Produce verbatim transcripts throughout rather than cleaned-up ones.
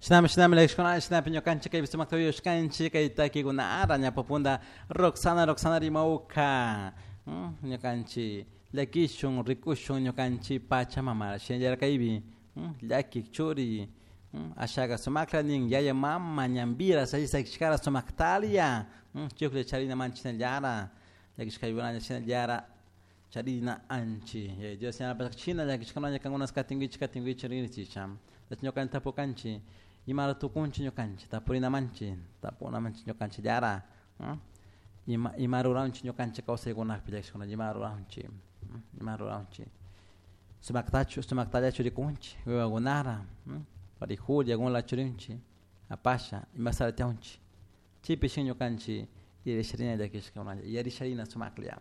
Shinami shinami llakishkuna shinapi ñukanchik kaypi sumakta uyashkanchik kay takikunara ñapapunda Roxana Roxana rimawka ñukanchik llakishun rikushun ñukanchik Pachamamara shinallara kaypi llakik churi ashaka sumakla nin yaya mama ñambira sakishkara sumaktalia chuklla charina manchinallara llakishkaykunalla shinallara charina anchi Dios yanapashka llakishkunalla kankunas katinkichik katinkichik rinchicha ñukanchik tapukanchik imara tukunchik ñukanchik tapurinamanchik tapunamanchik ñukanchikllara ima ima ruranchik ñukanchik kawsaykunapi llakishkuna ima ruranchik ima ruranchik sumaktachu sumaktallachu rikunchik wiwakunara parijulla kunla churinchik apasha imasara tiyanchik chaypi shin ñukanchik yarisharina llakishkakunalla yarisharina sumaklla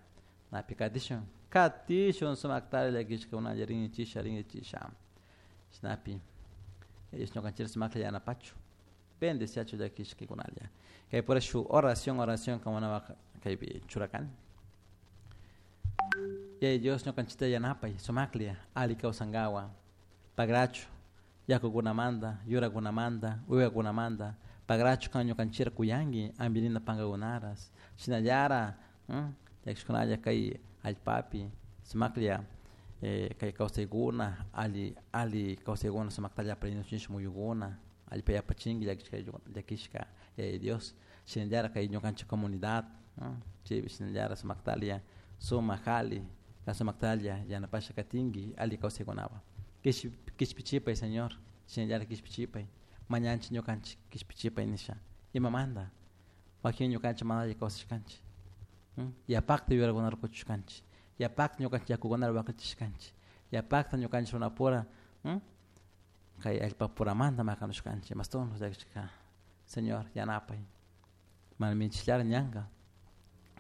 napi katishun katishun sumaktalla llakishkakunalla rinchisha rinchisha shinapi ellos ñukanchik sumaklla yanapachu bendeciachu llakishkakunalla kay pura shuk oración oración kamunapak kaypi churakani Yaya Dios ñukanchikta yanapay sumaklla alli kawsankawa pagrachu yakukunamanta yurakunamanta wiwakunamanta pagrachu kan ñukanchikta kuyanki ampirina pankakunaras shinallara llakishkunalla kay allpapi sumaklla kay kawsaykuna alli alli kawsaykuna sumaktalla aparinuchun muyukuna allpa yapachinki llakishka llakishka Yaya Dios shinallara kay ñukanchik comunidad chaypi shinallara sumaktalla sumak alli sumaktalla yanapasha katinki alli kawsaykunapak kishpichipay Señor shinallara kishpichipay mañanchik ñukanchik kishpichipay nisha imamanta wakin ñukanchik mana alli kawsashkanchik yapakta yurakunata rukuchishkanchik yapakta ñukanchik yakukunata waklichishkanchik yapakta ñukanchik runapura kay allpapuramanta makanushkanchik mashtono llakishka Señor yanapay mana minchillara ñanka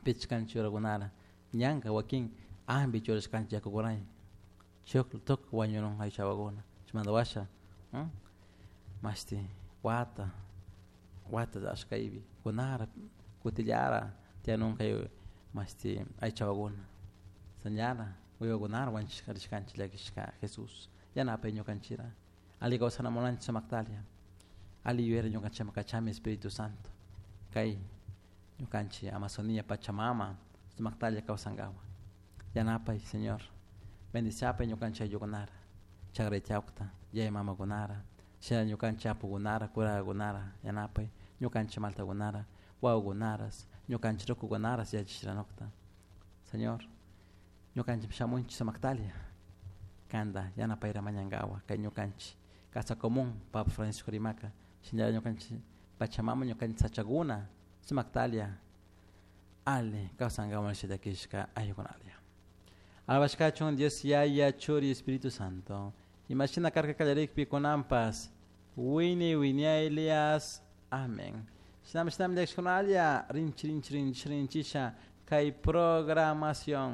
pichkanchik yurakunara ñanka wakin ampi churashkanchik yakukunay chuklu tukuy wañunun aychawakuna chaymanta washa mashti wata wata ashkaypi kunara kutillara tiyanun kay mashti aychawakuna señala wiwakunara wanchishka rishkanchik llakishka Jesús yanapay ñukanchikra alli kawsana munanchik sumaktalla alli yuyayta ñukanchikman kachami Espíritu Santo kay ñukanchik Amazonía Pachamama sumaktalla kawsankapak yanapay Señor bendiciapay ñukanchik ayllukunara chakraytiyawkta yaya mamakunara shina ñukanchik apukunara kurakakunara yanapay ñukanchik maltakunara wawakunaras ñukanchik rukukunaras yachachishranukta Señor ñukanchik shamunchik sumaktalla kanta yanapayra mañankawa kay ñukanchik casa común Papa Francisco rimaka shinallara ñukanchik Pachamama ñukanchik sachakuna sumaktalla alli kawsankawan nisha llakishka ayllukunalla alabashkachun Dios Yaya Churi Espíritu Santo imashina karka kallarikpi kunanpas wiñay wiñaylias amén shinami shinami llakishkunalla rinchi rinchi rinchi rinchisha kay programación.